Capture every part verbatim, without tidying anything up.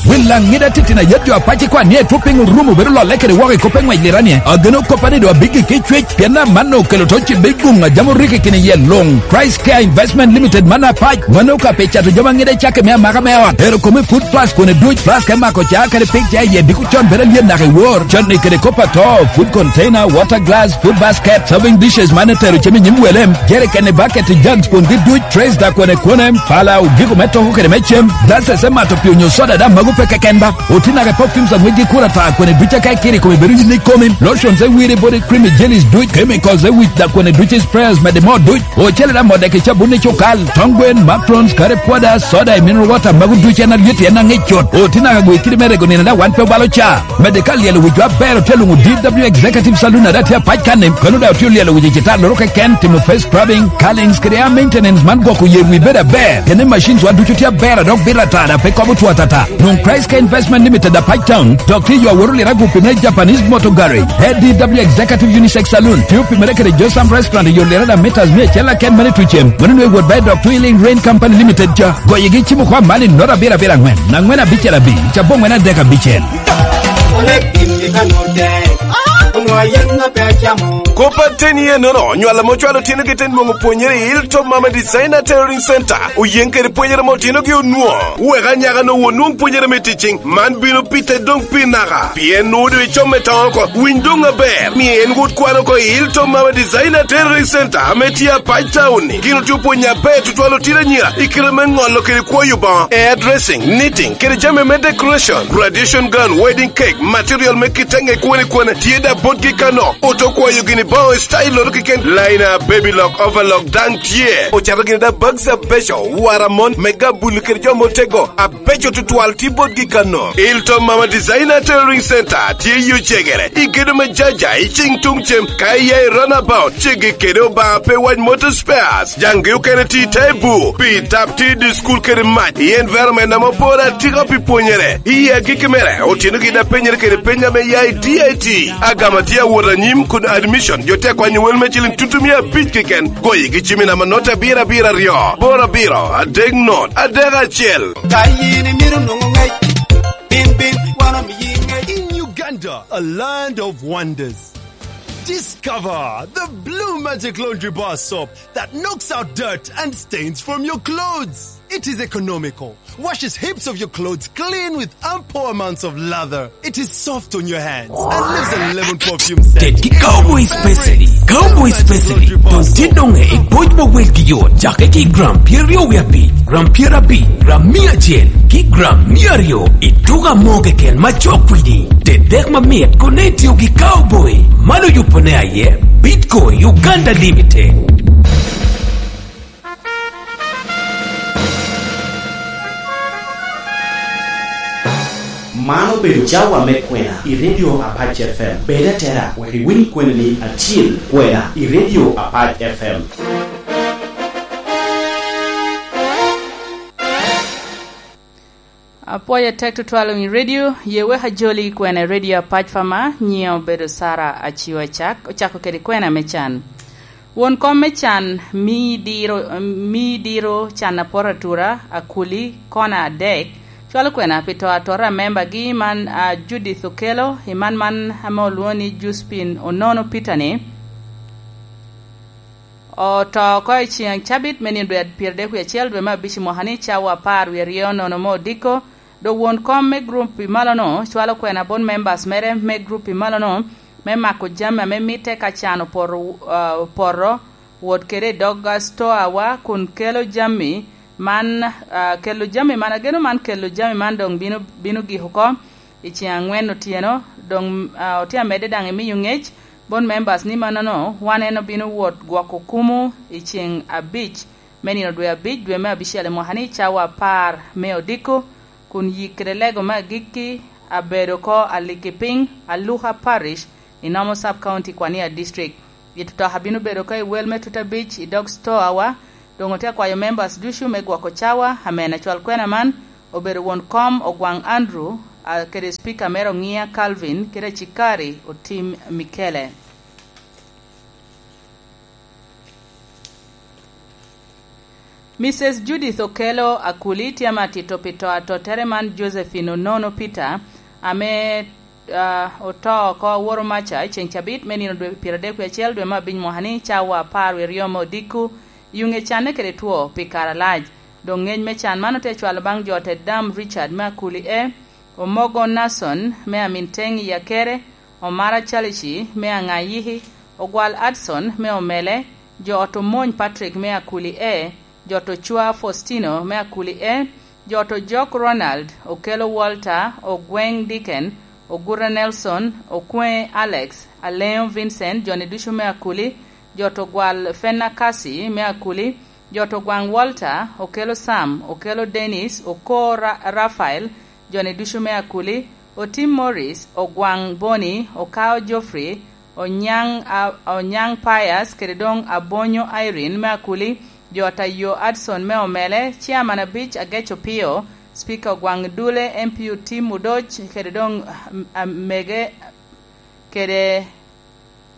Pi laŋ ŋida titino a yat jo apac ikwan ni etwo piny orumo bedo lolle kede woko i kop eŋwec lira-ni, ageno koppa ni doŋ abiggi ki cwec, pien amanno okelo to cibbe guŋ a jam orikki kine iye luŋ. Christ Care Investment Limited man apac, mano ka pi cato jami aŋida icakke me amaka me ot, ero kome food flask kone duc, flask me mako ca kede pig ca iye diko con bedo alyet naka i wor, con-ni kede kop ato, food container, water glass, food basket, serving dishes man etero cem i nyim welem, jerikeni, baketi, jugs kungi duc, trays da kone kone, pala, ogiko me toko kede me cem, glasses me mato pii onyo soda da mago pe keken ba. Otinake perfumes a ŋwecgi kur ata kone duc aka ikiro i kome bedo yin ikomi, lotions e wiri body cream i jellies duc, chemicals e wic da kone duc i sprayers mede mo duc, ocele da mode ki cabun i cukal, tong gwen, macarons, curry powder, soda i mineral water mago duc en alyet en aŋic cut. Otinake gwe kidi me rego nino da wan pe obalo ca. Mede ka lyelo wic jo aber otye luŋo D W Executive Saloon a daŋ tye apac kan-ni, kono daŋ otye olyelo wic i citalloro keken, timo face scrubbing, curlings kede hair maintenance man gwoko yer wi bedo aber. Pien ni machines wa ducu tye aber a dok bito ata daŋ pe kobo two atata. Nwoŋo Christ Care Investment Limited apac town, dok tye yo awot oliro agupi me Japanese Motor Garage. A D W Executive Unisex Saloon tye opimere kede Josam Restaurant i yo liro daŋ meters mia acel aken mene tucem. Mano nwe wot ba i dok Twilling Rain Company Limited ca. Goyegi cimo kwa mani noro abiro abiro angwen, angwen abicel abi, cabongwen adek abicel. Kop ateni enono, nywal ame ocwalo otyeno gi te nwoŋo pwonyere i Hilltop Mama Designer Tailoring Center, oyeŋ kede pwonyere ame otyenogi onwoŋo. Wek anyaka-nu onwoŋ pwonyere me ticing, man bino pite doŋ pi naka, pien nwoŋo doŋ icome toŋ oko. Winy doŋ aber, mi en wot kwan oko i Hilltop Mama Designer Tailoring Center ame tye apac taun-ni. Gin otye opwonyo aber tutwal otino anyira i kite me ŋolo kede kwoyo boŋo, hairdressing, knitting, kede jami me decoration, graduation gown, wedding cake, material me kite ŋe kwone kwone tye da botgi kano. Oto kwayo gini boŋo i style loro keken, liner, baby lock, overlock daŋ tye. Ocato gini da bags abeco, wara mon, me gabulu kede jo motego, abeco tutwal tye botgi kano. Hilltop Mama Designer Tailoring Center tye i Ocegere, i gedo me Jaja, i cing tuŋ cem, ka iya i runabout, ceggi kede Obaŋa pe wac Motor Spares. Jaŋgi okene tye i te bur, pi tap tye i dye cukul kede mac, i environment ame oporo atika pi pwonyere. I agikki mere, otyenogi daŋ penyere kede peny ame ya i D I T. Agama tye awot anyim kun admission jo tye akwanyo wel me ciliŋ tutumia abic keken. Goyigi cim i namba not abiro abiro aryo, boro abiro, adek not, adek acel. Ka yin imito nwoŋo ŋec, bin, bin, wan omiyi ŋec. In Uganda, a land of wonders. Discover the Blue Magic Laundry Bar Soap that knocks out dirt and stains from your clothes. It is economical, washes heaps of your clothes clean with ample amounts of lather. It is soft on your hands and leaves a lemon perfume scent. Ted ki Cowboy Special, Cowboy Special, doŋ tye doŋ i boc ma welgi yot, cake ki gram pyeraryo wie abic, gram pyerabic, gram mia acel, ki gram mia aryo, i tuko amo keken ma cok kwidi. Ted dek mamit, kone itio ki Cowboy. Man oyubo ne aye Bitco Uganda Limited. Man obedo cawa me kwena i Radio Apac F M. Bed atera wek iwiny kweni acil, kwena i Radio Apac F M. Apwoyo tek tutwal i redio, ye wek ajoli i kwena i redio Apac Fama, nyiŋa obedo Sara Aciwa Acak, ocako kede kwena me can. Won kom me can mii diro, mii diro can aporo atura, akuli, kona adek, cwalo kwena pi to atora a membagi man a Judith Okello, i man man ame olwoŋo ni Juspin Onono Peter-ni. Oto oko i ceŋ cabit me nino dwe pyeradek wie acel dwe me abic i mwaka ni cawa apar wie aryo nono me odiko, dok won kom me gurup i malo-nu cwalo kwena bot members mere me gurup i malo-nu me mako jami ame mitte ka can opoto, ah, opoto, wot kede i dog, ah, stoawa kun kelo jami man, ah, kelo jami man, ageno man kelo jami man doŋ bino, bino gik oko i ceŋ angwen otyeno, doŋ, ah, otye amedde daŋ imiyo ŋec bot members ni mannono wan en obino wot gwoko kumu i ceŋ abic me nino dwe abic, dwe me abicel i mwaka ni cawa apar me odiko, kun yik kede lego me agikki abedo oko Alikipiny, Aluka Parish, i Nomo Sub County, Kwania District. It otoka bino bedo oko i wel me tut abic i dog stoawa, doŋ otye akwayo members ducu me gwoko cawa, amen acwal kwena man obedo won kom Ogwaŋ Andrew, a, kede Speaker mere Oŋiya Calvin, kede Acikari Otim Mikele. Mices Judith Okello Akuli tye ame atito pi to atottere man Josephine Onono Peter, ame, ah, oto oko aworo maca i ceŋ cabit me nino dwe pyeradek wie acel dwe me abic mwaka ni, cawa apar wie aryo me odiko, i onge canne kede two pi kare alac. Dok ngec me can man ote cwalo baŋ jo te dam Richard me Akuli E, Omogo Nason me Aminteŋ i Akere, Omara Chalici me Aŋayiki, Ogwal Adson me Omele, jo ot Omony Patrick me Akuli E, jo ot Ocwa Faustino me Akuli E, jo ot Ojok Ronald, Okello Walter, Ogweŋ Dicken, Oguta Nelson, Okweŋe Alex, Aleŋo Vincent, jo-ni ducu me Akuli, jo ot Ogwal Fenakasi me Akuli, jo ot Ogwaŋ Walter, Okello Sam, Okello Dennis, Oko Ra-, Rafael, jo-ni ducu me Akuli, Otim Morris, Ogwaŋ Boni, Okao Geoffrey, Onyaŋ, a, Onyaŋ Pius, kede doŋ Abonyo Irene me Akuli, jo ot Ayo Adson me Omele, Chairman abic Agec Opio, Speaker Ogwaŋ Dule, M P Otim Odoc, kede doŋ, a, a, mege, kede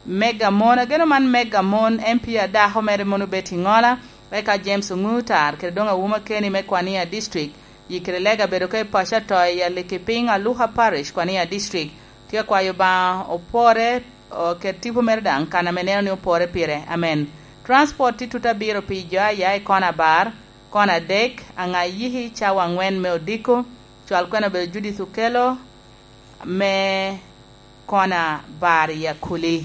Mega Mon, ageno man Mega Mon, M P adako mere mono obet i Ŋola, eka James Oŋutar, kede doŋ Awuma Keni me Kwania District, yikere lega bedo ka i paco ato i Alikipiny, Aluka Parish, Kwania District. Tye akwayo Obaŋa opore, o, ket tipo mere daŋ kan ame neno ni opore pire. Amen. Transport tye tut abiro pi jo aya i kona abar, kona adek, aŋa yiki cawa aŋwen me odiko, cwal kwena obedo Judith Okello, me kona bar i Akuli.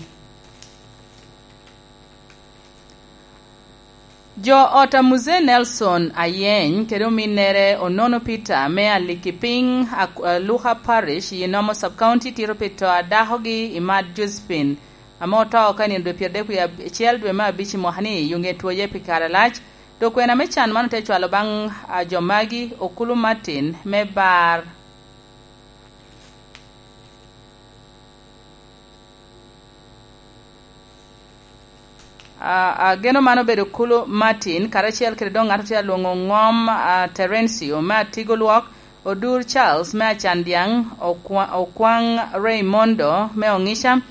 Jo ot a Mzee Nelson Ayeny kede ominnere Onono Peter me Alikipiny, Ak-, Aluka Parish, i Nomo Sub-County tito pi to a dakogi i Mad Josephine, ame oto oko i nino dwe pyeradek wie acel dwe me abic i mwaka ni, i onge twoye pi kare alac. Dok kwena me can man ote cwalo baŋ, a, jo magi, Okulu Martin me Bar. A, ageno man obedo Kulu Martin, karacel kede doŋ ŋat otye alwoŋo Ŋom, a, Terencio me Atigo Lwok, Odur Charles me Acandyaŋ, Okwa-, Okwaŋ Raymondo me Oŋica,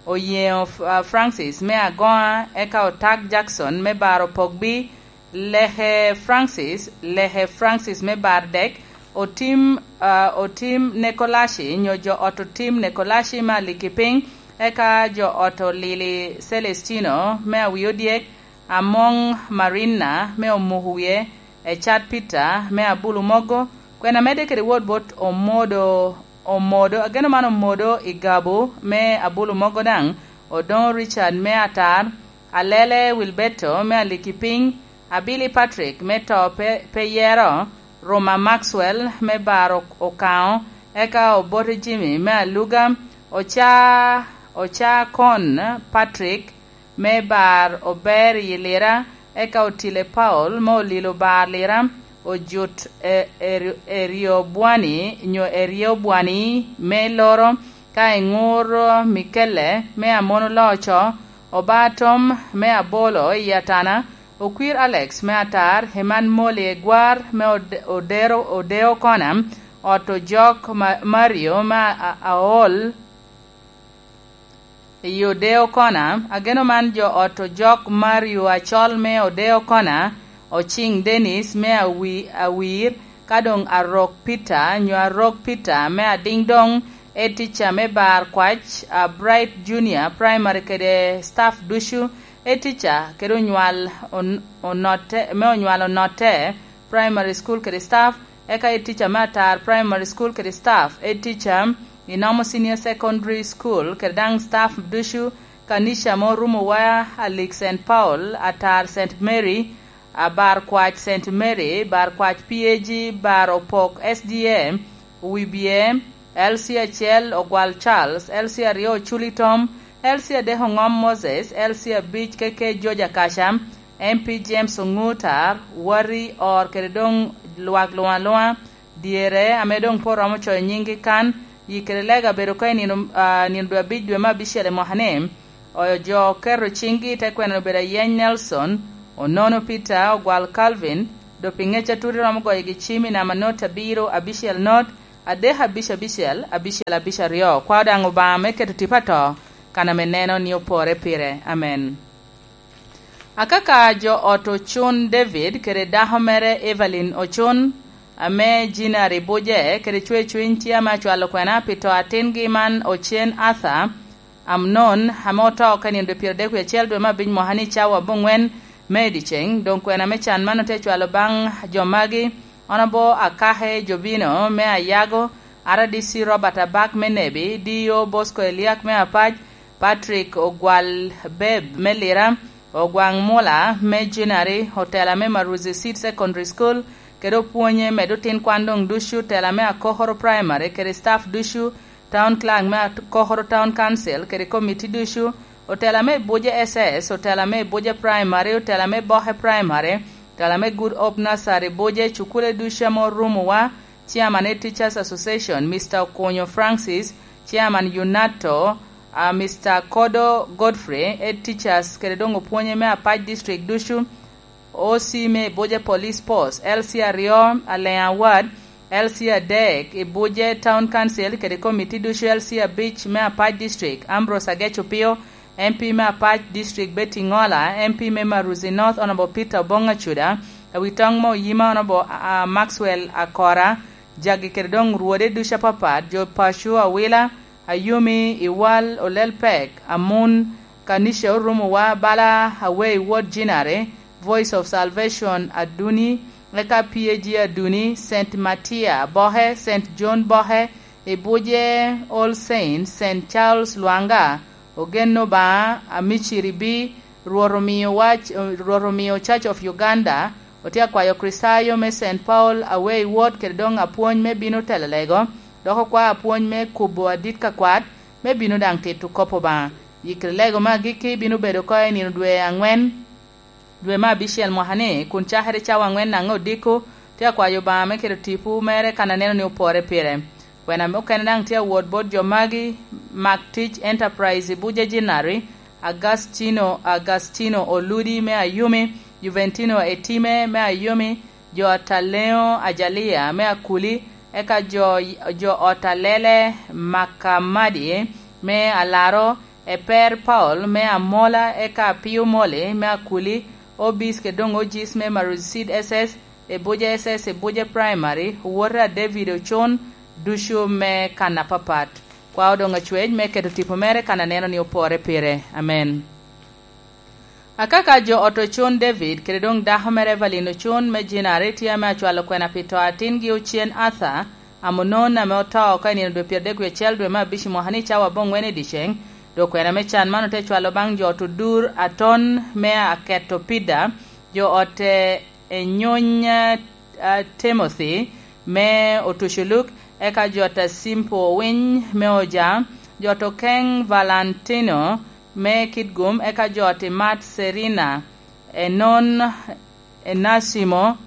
Oyeŋo F-, a, Francis me Agoŋa, eka Otak Jackson me Baro Pogbi, Leke Francis, Leke Francis me Bardek, Otim, a, Otim Nekolaci, nyo jo ot Otim Nekolaci me Alikipiny, eka jo ot Olili Celestino me Awiodyek, Amoŋ Marina me Omuko Wie, Ecat Peter me Abulu Mogo, kwena medde kede wot bot Omodo, Omodo, ageno man Omodo i Gabo me Abulu Mogo daŋ, Odoŋo Richard me Atar, Alele Wilberto me Alikipiny, Abili Patrick me To Pe, Pe Yero, Roma Maxwell me Bar Ok-, Okaŋo, eka Obote Jimmy me Aluga, Oca, Oca Kon Patrick me Bar Ober i Lira, eka Otile Paul me Olilo Bar Lira, Ojut E-, Eri-, Eriobwani nyo Eriobwani me Loro, ka i ŋur Mikelle me Amono Loco, Obatom me Abolo i Atana, Okwir Alex me Atar, Heman Moli Egwar me Ode-, Odero, Odeo Kona, ot Ojok Ma-, Mario me A-, A-, Aol i Odeo Kona, ageno man jo ot Ojok Mario Acol me Odeo Kona, Ociŋ Dennis me Awi-, Awir, ka doŋ Arok Peter, nyo Arok Peter me Adiŋdong, e tica me Bar Kwac, a, Bright Junior Primary kede staff ducu, e tica kede onywal on-, onotte, me onywal onotte Primary School kede staff, eka e tica me Atar Primary School kede staff, e tica i Nomo Senior Secondary School kede daŋ staff ducu, kanica ame orumo wa, Alik Saint Paul, Atar Saint Mary, a, Bar Kwac Saint Mary, Bar Kwac P A G, Bar Opok S D A, Wibye, L C acel Ogwal Charles, L C aryo Oculi Tom, L C adek Oŋom Moses, L C abic K K George Akaca, M P James Oŋutar, Wari Or kede doŋ lwak luŋ aluŋa, dyere ame doŋ pe oromo coyo nyiŋgi kan, yikere lega bedo ka i nino, a, nino dwe abic dwe me abicel i mwaka ni, oyo jo oketo ciŋgi te kwena obedo Ayeny Nelson, Onono Peter, Ogwal Calvin, do pi ŋec atuti romo goyogi cim i namba not abiro abicel not, adek abic abicel, abicel abic aryo. Kwao daŋ Obaŋa me keto tipo ato, kan ame neno ni opore pire. Amen. Akaka jo ot Ocun David kede dako mere Evelyn Ocun, ame Jinari Buje kede Cwecwiny tye ame acwalo kwena pi to atingi man Ocen Arthur Amnon, ame oto ka nino dwe pyeradek wie acel dwe me abic mwaka ni cawa abongwen me i dyeceŋ. Doŋ kwena me can man otye acwalo baŋ jo magi, Honourable Akake Jobino me Ayago, R D C Robert Abak me Nebi, D O Bosco Eliak me Apac, Patrick Ogwal Beb me Lira, Ogwaŋ Mula me Jinari, otela me Maruzi Seed Secondary School, kede opwonye med otin kwan doŋ ducu, otela me Akokoro Primary, kede staff ducu, Town Clerk me Akokoro Town Council, kede komiti ducu, otela me Buje S S, otela me Buje Primary, otela me Boke Primary, otela me Good Hope Nursery Buje, cukule ducu ame orumowa, Chairman Head Teachers Association, Mister Okonyo Francis, Chairman UNATO, a, Mister Kodo Godfrey, Head Teachers, kede doŋ opwonye me Apac District ducu, O C me Buje Police Post, L C aryo, Aleŋ Award, L C adek, i Buje Town Council, kede komiti ducu, L C abic me Apac District, Ambrose Agec Opio, M P me Apac District, Betty Ngola, M P me Maruzi North, Honourable Peter Obong Acuda, Awitoŋ me Oyima, Honourable, a, Maxwell Akora, jagi kede doŋ rwode ducu apapat, jo paco, Awila, Ayumi, Iwal, Olel Pek, Amun, Kanisha Orumowa, bala Awei Wod Jinare, Voice of Salvation Aduni, eka P A G Aduni, Saint Matia Bohe, Saint John Bohe, Ibuje All Saints, Saint Charles Lwanga, Ogen Obaŋa, Amiciri Bi, Rwot omio wac, Rwot omio Church of Uganda, otye akwayo Kricitayo me Saint Paul Awei Wod kede doŋ apwony me bino telo lego, dok okwa apwony me kubo adit ka kwat, me bino daŋ tito kop Obaŋa. Yikri lego me agikki bino bedo oko i nino dwe aŋwen, dwe me abicel mwaka ni, kun cakere cawa aŋwen naŋ odiko, tye akwayo Obaŋa me keto tipo mere kan aneno ni opore pire. Kwena mukene daŋ tye awot bot jo magi, Mak Tic Enterprise i Buje Jinari, Agastino, Agastino Oludi me Ayumi, Juventino Etime me Ayumi, jo Ataleo Ajalia me Akuli, eka jo, jo Otalele Makamadi me Alaro, Eper Paul me Amola, eka Apio Moli me Akuli, Obis kede doŋ Ojis me Maruzi Seed S S, Ebuja S S, Ebuja Primary, Owota David Ocon, ducu me kan apapat. Kwa Odoŋ Acwec me keto tipo mere kan aneno ni opore pire. Amen. Akaka jo ot Ocon David kede doŋ dako mere Evelyn Ocon me Jinari tye ame acwalo kwena pi to atingi Ocen Arthur Amonon ame oto oko i nino dwe pyeradek wie acel dwe me abic i mwaka ni cawa aboŋwen i dyeceŋ, dok kwena me can man ote cwalo baŋ jo ot Odur Aton me Aketo Pida, jo ot, eh, Enyony, eh, Timothy me Otuculuk, eka jo ot Asimpo Owiny me Oja, jo ot Okeŋ Valentino me Kitgum, eka jo ot Imat Serina, Enon Enasimo,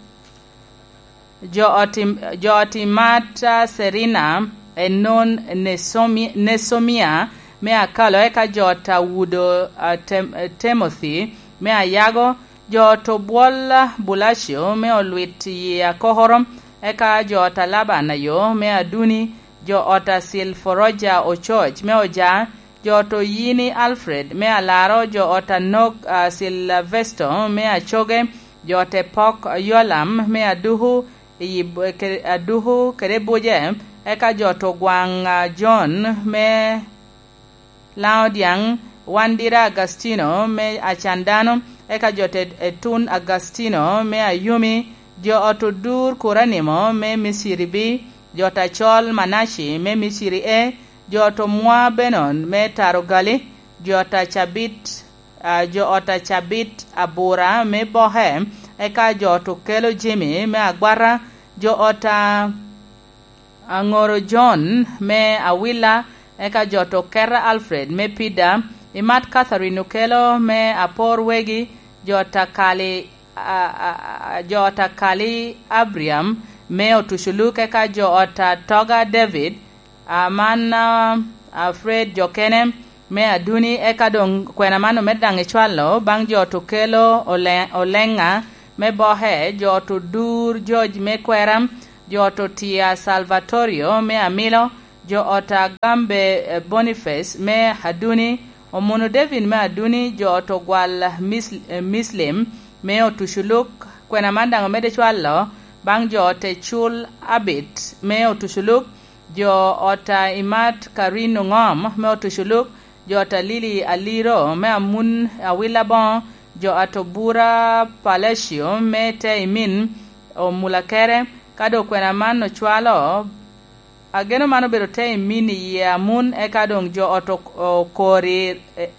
jo ot Im-, jo ot Imat, ah, Serina, Enon Nesomi-, Nesomia me Akalo, eka jo ot Awudo, ah, Tem-, eh, Timothy me Ayago, jo ot Obwol, ah, Bulacio me Olwit i Akokoro, eka jo ot Alaban Ayo me Aduni, jo ot Asil Foroja Ococ me Oja, jo ot Oyini Alfred me Alaro, jo ot Anok, ah, Silvesto me Acoge, jo ot Epok Yolam me Aduku, i Bo-, ke-, Aduku kede Buje, eka jo ot Ogwaŋ, ah, John me Laodiaŋ, Wandira Agastino me Acandano, eka jo ot Etun Agastino me Ayumi, jo ot Odur Kuranimo me Miciri B, jo ot Acol Manaci me Miciri A, jo ot Omwa Benon me Tarogali, jo ot Acabit, ah, jo ot Acabit Abura me Boke, eka jo ot Okelo Jimi me Agwata, jo ot a-, Aŋoro John me Awila, eka jo ot Oketa Alfred me Pida, Imat Catherine Okelo me Apor Wegi, jo ot Akali, a, a, a, jo ot Akali Abriam me Otuculuk, eka jo ot Atoga David, a, man, a, a Fred jo kene me Aduni, eka doŋ kwena man omedde daŋ ecwalo baŋ jo ot Okelo Ole-, Oleŋa me Boke, jo ot Odur George me Kwera, jo ot Otia Salvatorio me Amilo, jo ot Agambe, eh, Boniface me Aduni, Omuno David me Aduni, jo ot ogwal Mis-, eh, Mislim me Otuculuk. Kwena man daŋ omedde cwalo baŋ jo ot Ecul Abit me Otuculuk, jo ot a Imat Karin Oŋom me Otuculuk, jo ot a Lili Aliro me Amun Awila Boŋo, jo ot Obura Palacio me te Imin Omulakere. Ka doŋ kwena man ocwalo, ageno man obedo te Imin i yie Amun, eka doŋ jo ot ok-, okori e-, e-,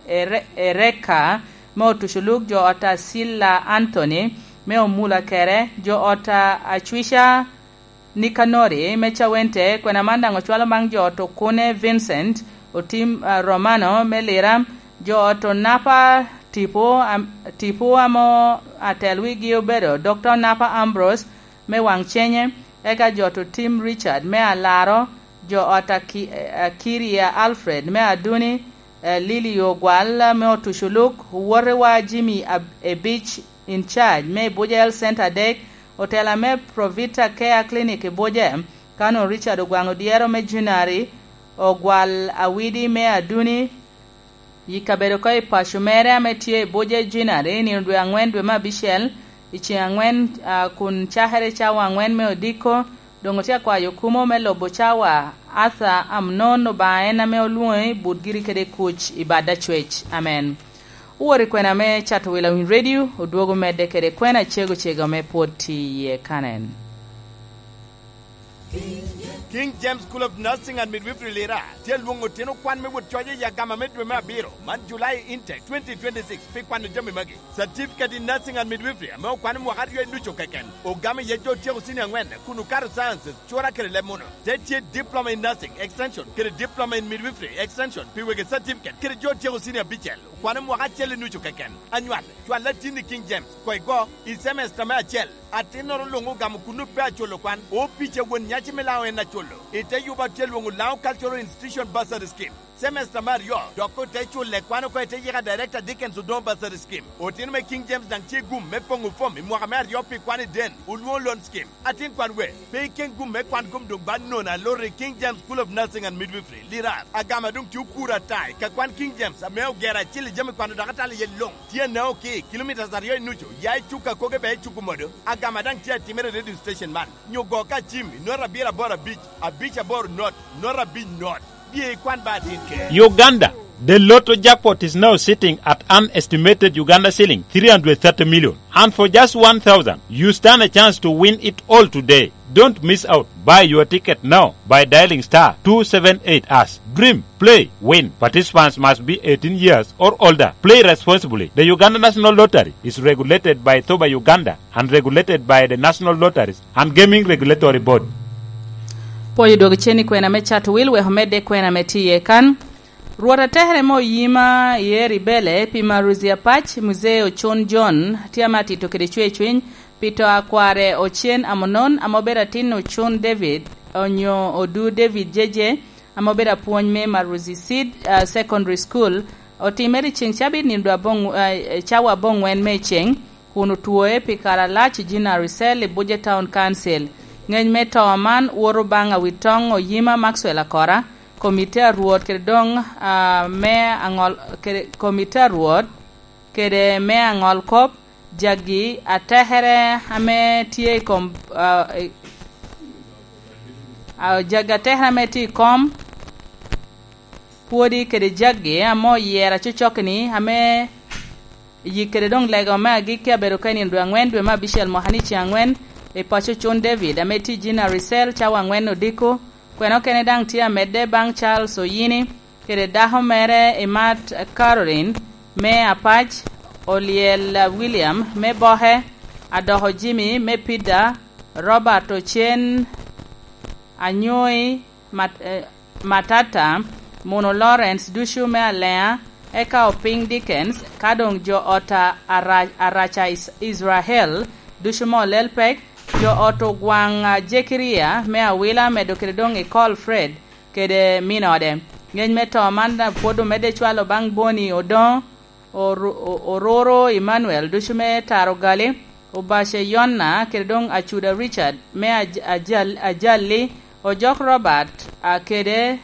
ere-, Ereka me Otuculuk, jo ot a Sila Anthony me Omulakere, jo ot a Acwica Nikanori me Cawente. Kwena man daŋ ocwalo baŋ jo ot Okune Vincent, Otim, ah, Romano me Lira, jo ot Onapa Tipo, am-, Tipo amo atel wigi obedo Dokta Onapa Ambrose me Waŋcenye, eka jo ot Otim Richard me Alaro, jo ot Aki-, Akiria Alfred me Aduni, eh, Lili Ogwal me Otuculuk, wotewa Jimmy Ab-, Ebic in charge me Ibuja Health Center adek, otela me Provita Care Clinic Ibuja, Kano Richard Ogwaŋ Odyero me Junari, Ogwal Awidi me Aduni, i kabedo ko i paco mere ame tye i Ibuja Junari, nino dwe aŋwen dwe me abicel, i ceŋ aŋwen, ah, kun cakere cawa aŋwen me odiko, doŋ otye akwayo kumo me lobo cawa Arthur Amnon Obaŋa en ame olwoŋi but giri kede kuc i bad acwec. Amen. Owor i kwena me Cato Wila Winy Radio, odwogo medde kede kwena cego cego ame pwod tye iye kanen. King James School of Nursing and Midwifery Lira tye alwoŋo otino kwan me wot coc i agama me dwe me abiro man July intake twenty twenty-six pi kwano jami magi. Certificate in Nursing and Midwifery ame okwano mwaka aryo i nucu keken, ogamo iye jo otyeko senior aŋwen kun okato sciences, cura kede leb muno. Te tye Diploma in Nursing Extension kede Diploma in Midwifery Extension pi wegi certificate kede jo otyeko senior abicel, okwano mwaka acel i nucu keken. Anywal, cwal atin i King James, koigo, i semester me acel. Atinnoro luŋ ogamo kun ope aculo kwan, opic a won nyaci me Laŋo en aculo. I te yuba tye lwoŋo Laŋo Cultural Institution Bursary Scheme. Semester me aryo, dok ote culo kwan oko i te yika Director Dickens Odongo Bursary Scheme. Otino me King James daŋ tye gum me poŋo fom i mwaka me aryo pi kwan i den, olwoŋo loan scheme. Atin kwan we, pe iken gum me kwan kom doŋ ba nono aloro i King James School of Nursing and Midwifery, Lirar. Agama doŋ tye okuro ata i ka kwan King James ame ogero acil i jami kwano dok atalo iye luŋ. Tye anaŋo ki kilomitas aryo i nucu, ya i cuk akoge bea i cuk omodo. Agama daŋ tye atimere i radio station man. Nyo go ka cim i nota abiro aboro abic, abic aboro not, nota abic not. Bye ikwan ba atin ker. Uganda, the lotto jackpot is now sitting at an estimated Uganda shilling three hundred thirty million. And for just one thousand, you stand a chance to win it all today. Don't miss out. Buy your ticket now by dialing star two seven eight hash. Dream, play, win. Participants must be eighteen years or older. Play responsibly. The Uganda National Lottery is regulated by Thoba Uganda and regulated by the National Lotteries and Gaming Regulatory Board. Pwoyo dwogo cen i kwena me Cato Wil wek omedde kwena me tiye kan. Rwot atekere me oyima i Eri Bele pi Maruzi Apac, Muzee Ocon John, tye ame atito kede cwercwiny pi to a kware Ocen Amonon, ame obedo atin Ocon David, onyo Odu David Jeje, ame obedo apwony me Maruzi Seed, ah, Secondary School. Otimere i ceŋ cabit nino dwe aboŋ-, ah, cawa aboŋwen me ceŋ, kun otwoe pi kare alac i Jinari Cell i Buje Town Council. Ngec me to man woto baŋ Awitoŋ Oyima Maxwell Akora, komite a Rwot kede doŋ, ah, me aŋol-, kede komite a Rwot kede me aŋol kop, jaggi atekere ame tye i kom, ah, i, ah, jaggi atekere ame tye i kom pwodi kede jaggi ame oyero acocok-ni, ame yik kede doŋ lego me agikki abedo ka i nino dwe aŋwen dwe me abicel mwaka ni ceŋ aŋwen i paco Ocon David, ame tye i Jinari Cell cawa aŋwen odiko. Kwena okene daŋ tye amedde baŋ Charles Oyini kede dako mere Imat Caroline me Apac, Olyel William me Boke, Adoko Jimmy me Pida, Robert Ocen Anyoy, Mat-, eh, Matata, Muno Lawrence ducu me Alea, eka Opiny Dickens, ka doŋ jo ot a Ara-, Araca Is-, Israel ducu me Olelpek, jo ot Ogwaŋ, ah, Jekiria me Awila, medo kede doŋ Ecol Fred kede min ode. Ngec me to man daŋ pwod omedde cwalo baŋ Boni Odoŋo, Oru-, O-, Ororo Emmanuel ducu me Taro Gali, Obace Yonna kede doŋ Acuda Richard me Aj-, Ajal-, Ajalli, Ojok Robert, ah, kede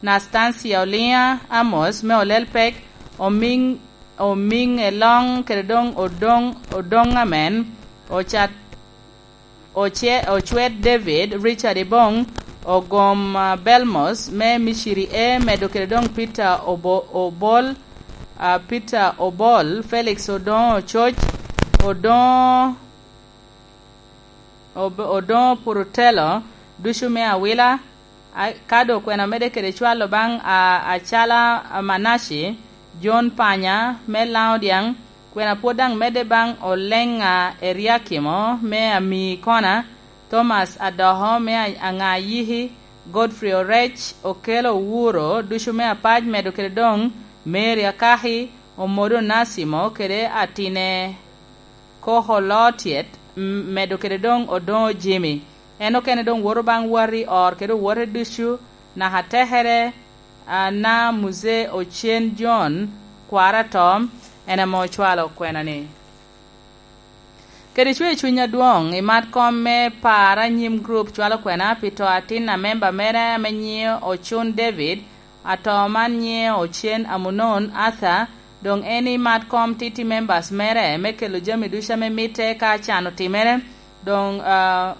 Nastancia Oliŋa Amos me Olelpek, Omiŋ, Omiŋ Eloŋ kede doŋ Odoŋ, Odoŋ Amen, Ocat, Oce-, Ocwet David, Richard Iboŋ, Ogom, ah, Belmos me Miciri E, medo kede doŋ Peter Obo-, Obol, ah, Peter Obol, Felix Odoŋo Ococ, Odoŋo Ob-, Odoŋo Purutelo, ducu me Awila, a-, ka doŋ kwena omedde kede cwalo baŋ a-, acala Manaci, Jon Panya me Laŋo Dyaŋ, kwena pwod daŋ medde baŋ Oleŋa Eriakimo me Amii Kona, Thomas Adoko me A-, Aŋa Yiki, Godfrey Orec, Okelo Owuro, ducu me Apac, medo kede doŋ Mary Akaki, Omodo Nasimo kede Atine Koko Lotyet, m-, medo kede doŋ Odoŋo Jimmy. En okene doŋ woto baŋ wati ot kede owote ducu, naka tekere, a, na Muzee Ocen John, kwara ato, en ame ocwalo kwena-ni. Kede cwer cuny adwoŋ, i mat kom me par anyim grup cwalo kwena pi to atin a memba mere ame nyiŋe Ocun David, ato man nyiŋe Ocen Amunon Arthur, doŋ en i mat kom titi members mere me kelo jami ducu ame mitte ka can otimere, doŋ, ah,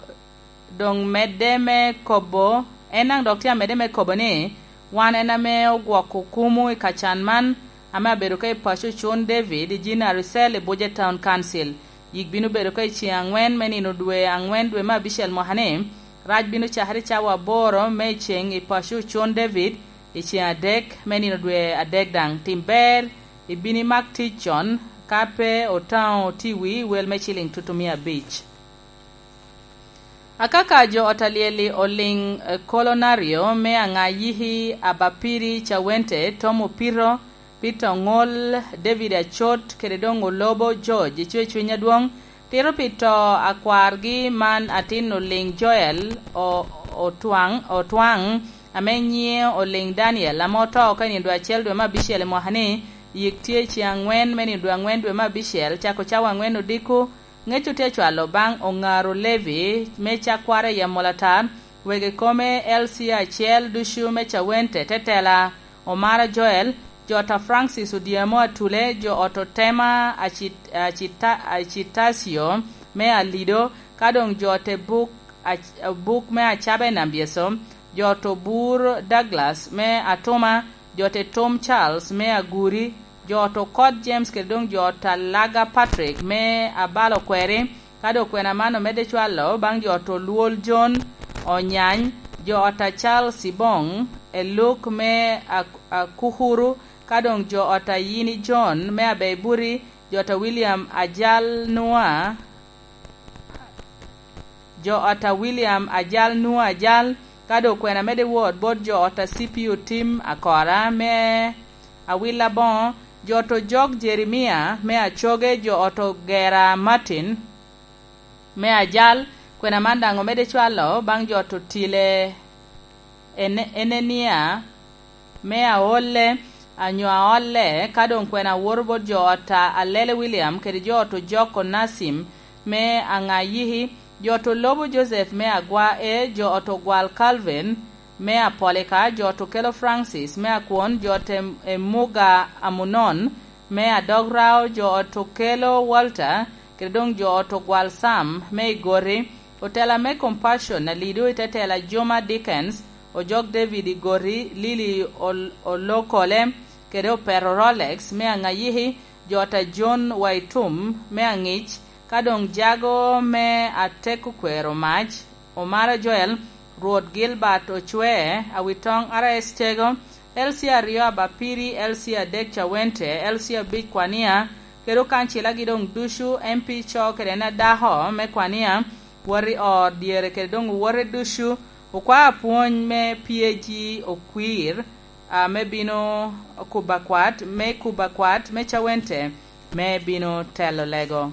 doŋ medde me kobo, en daŋ dok tye amedde me kobo ni, wan en ame ogwoko kumu i kacan man, ame abedo ka i paco Ocun David i Jinari Cell i Buje Town Council. Yik bino bedo ka i ceŋ aŋwen me nino dwe aŋwen dwe me abicel mwaka-ni. Rac bino cakere cawa aboro me i ceŋ i paco Ocun David i ceŋ adek me nino dwe adek daŋ. Tim ber, ibino imak tic con, ka pe otaŋo otiwi wel me ciliŋ tutumia abic. Akaka jo ot alyel-li oliŋ, eh, Kolonario me Aŋa Yiki, Abapiri Cawente, Tom Opito, Peter Oŋol, David Acot, kede doŋ Olobo George, icwe cuny adwoŋ, tito pi to akwargi man atin oliŋ Joel, o-, Otwaŋ, Otwaŋ, ame nyiŋe oliŋ Daniel, ame oto oko i nino dwe acel dwe me abicel i mwaka-ni, yik tye i ceŋ aŋwen me nino dwe aŋwen dwe me abicel, cako cawa aŋwen odiko, Ŋec otye acwalo baŋ Oŋaro Levi me cakwara i Amolatar, wegi kome L C acel ducu me Cawente, tetela Omara Joel, jo ot a Francis Odyemo Atule, jo ot Otema Acit-, Acita-, Acitacio me Alido, ka doŋ jo ot Buk, Ac-, Buk me Acaba i Nambyeso, jo ot Obur Douglas me Atuma, jo ot Tom Charles me Aguri, jo ot Okot James kede doŋ jo ot Alaga Patrick me Abalo Kweri, ka doŋ kwena man omedde cwalo baŋ jo ot Olwol John Onyany, jo ot a Charles Ibong, Eluk me Ak-, Akukuru, ka doŋ jo ot a Yini John me Abeibuti, jo ot a William Ajal Nua, jo ot a William Ajal Nua Ajal, ka doŋ kwena medde wot bot jo ot a C P U Tim Akora me Awila Boŋo, jo ot Ojok Jeremia me Acoge, jo ot Ogera Martin me Ajal, kwena man daŋ omedde cwalo baŋ jo ot Otile Ene-, Enenia me Aolle, anyo Aolle, ka doŋ kwena woto bot jo ot a Alele William kede jo ot Ojok Onasim me Aŋayiki, jo ot Olobo Joseph me Agwa E, jo ot Ogwal Calvin me Apolika, jo ot Okelo Francis me Akwon, jo ot Em-, Emuga Amunon me Adograo, jo ot Okelo Walter, kede doŋ jo ot Ogwal Sam me Igoti, otela me Compassion Alido i te tela Juma Dickens, Ojok David Igoti, Lili Ol-, Olokole, kede Opero Rolex me Aŋayiki, jo ot a John Waitum me Aŋic, ka doŋ jago me Ateko Kwero Mac, Omara Joel, Rwot Gilbert Ocwe, Awitoŋ R S Tego, L C aryo Abapiri, L C adek Cawente, L C abic Kwania, kede okancilagi doŋ ducu, M P co kede en adako me Kwania, wot i ot dyere kede doŋ owote ducu, okwao apwony me P A G Okwir, a, me bino kuba kwat, me kuba kwat me Cawente, me bino telo lego.